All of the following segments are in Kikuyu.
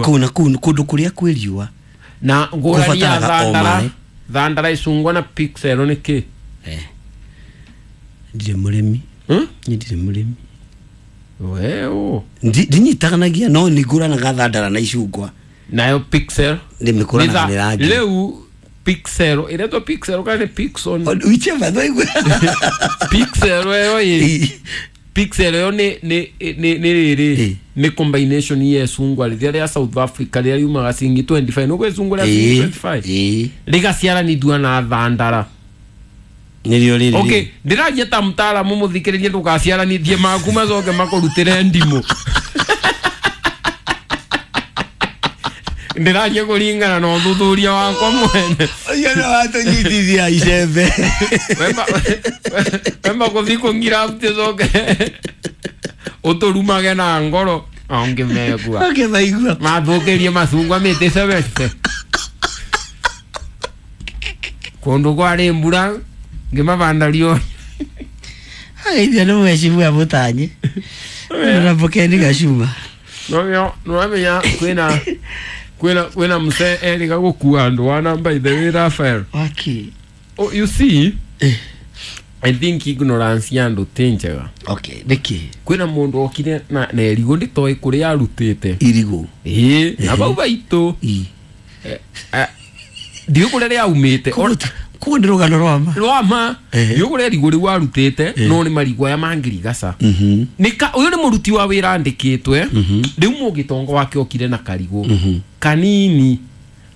Kũu na kũu kũndũ kũrĩa kwĩ riũa. Na ngũrani ya Kũbataraga o thandara maĩ. thandara icungwa na pixel nĩ kĩ? Eh. Ndirĩ mũrĩmi. Hmm? Niĩ ndirĩ mũrĩmi. Weũ. Ndinyitanagia no nĩ ngũranaga thandara na icungwa. Nayo pixel Nĩ mĩkũranaga nĩ rangi. Rĩu pixel ĩretwo pixel kana nĩ pixon? Whichever twaigua. Pixel ĩyo ĩ pixel ĩyo nĩ rĩrĩ Eh. nĩ combination ya icungwa rĩrĩa rĩa South Africa rĩrĩa riumaga ciringi 25 nĩguo icungwa rĩa ciringi 25 Ĩĩ. rĩgaciaranithua na thandara. Nĩrĩo rĩrĩ. Okay, ndĩraria ta mtaalamu mũthikĩrĩrie ndũgaciaranithie maku macoke makũrutĩre ndimũ. Ndĩraria kũringana na ũthuthuria wakwa mwene. Ũcio nĩ watũnyitithia icembe. Wemba kũthi kũngira coke ũtũrumage na ngoro ongĩmegua Okay, maigua. mathũkĩrie macungwa mĩtĩ sebete kũndũ kwarĩ mbura ngĩmabanda riũa. Ageithia nĩ mwecibua mũtanye. Na Bokeni Gacuma. Nĩwamenya kwĩna kwĩna mzee erĩga gũkua andũ wa namba ithe wĩ Rafael. Waki. Oh, you see, Eh. I think ignorance ya andũ ti njega. Okay, nĩkĩ? Kwĩna mũndũ okire na irigũ nditoĩ kũrĩa arutĩte. Irigũ. Ĩĩ, na bau baitũ Ĩ. ndiũĩ kũrĩa rĩaumĩte. Koguo nĩ rũgano rwa ma. Rwa ma. Ehe. Ndiũĩ kũrĩa irigũ rĩu arutĩte no nĩ marigũ aya mangirigaca. Nĩka ũyũ nĩ mũruti wa wĩra andĩkĩtwe. Rĩu mũgĩtongo wake okire na karigũ kanini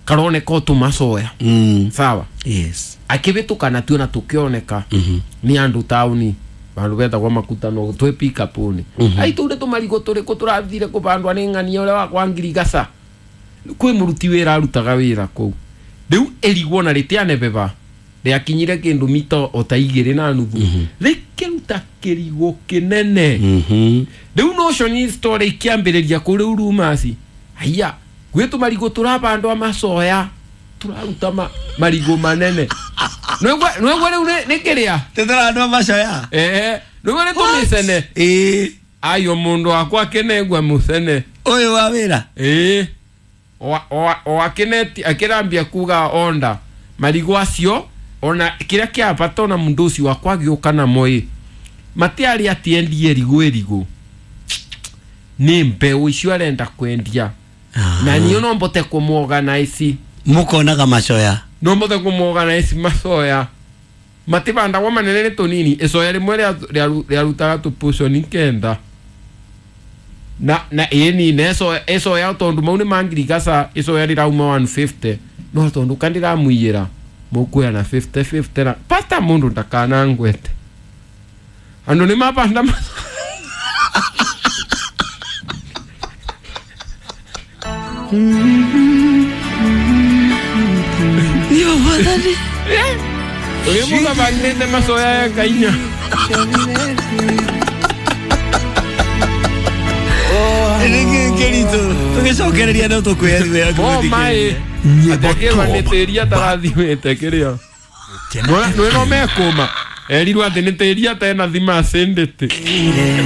karoneka o tũmacoya. Sawa. Yes. Akĩhĩtũka natuo na tũkĩoneka nĩ andũ taũni vandũ betagwo makutano twĩ pikapuni ai tũu tũmarigũ tũrĩkũ tũrathire kũbandwa nĩ ng'ania ũrĩa wakwa ngirigaca kwĩ mũruti wĩra arutaga wĩra kũu rĩu ĩrigwo na rĩtianebeba rĩakinyire kĩndũ mita o ta 2.5 rĩkĩruta kĩrigũ kĩnene. Rĩu nocio story ikĩambĩrĩria kũ rĩu rumasi haiya gwĩ tũmarigũ tũrabandwa macoya tũraruta marigũ manene nwegwe rĩu nĩ kĩrĩa. Tũtũrandwa macoya. Ee, nĩguo nĩ tũmĩcene. Ĩĩ. Ayo mũndũ wakwa akĩnengwa mũcene. Ũyũ wa wĩra. Ĩĩ, o akĩneti akĩrambia kuga onda marigũ acio ona kĩrĩa kĩa bata ona mũndũ ũcio wakwa agĩũka namo ĩ matiarĩ atĩ endie irigũ ĩrigũ nĩ mbeũ icio arenda kwendia na niĩ no mbote kũmũorganize. Mũkonaga macoya. No mbote kũmũorganize macoya matibandagwo manene nĩ tũnini icoya rĩmwe rĩarutaga tũpuconi 9 na ĩni na icoya tondũ mau nĩ mangirigaca icoya rĩrauma 150 no tondũ kandĩramũiyĩra mũkuoya na 50 50 na pata mũndũ ndakanangwete andũ nĩ mabanda Yo mwathani. Ũrĩa mũgabandĩte macoya ya kainya. Nĩkĩ kĩritũ tũgĩcokereria no tũkwĩra. Mo maĩ atakĩrwa nĩ tĩri atarathimĩte kĩrĩa nĩ no mekũma erirwo atĩ nĩ tĩri atena thima acindĩte.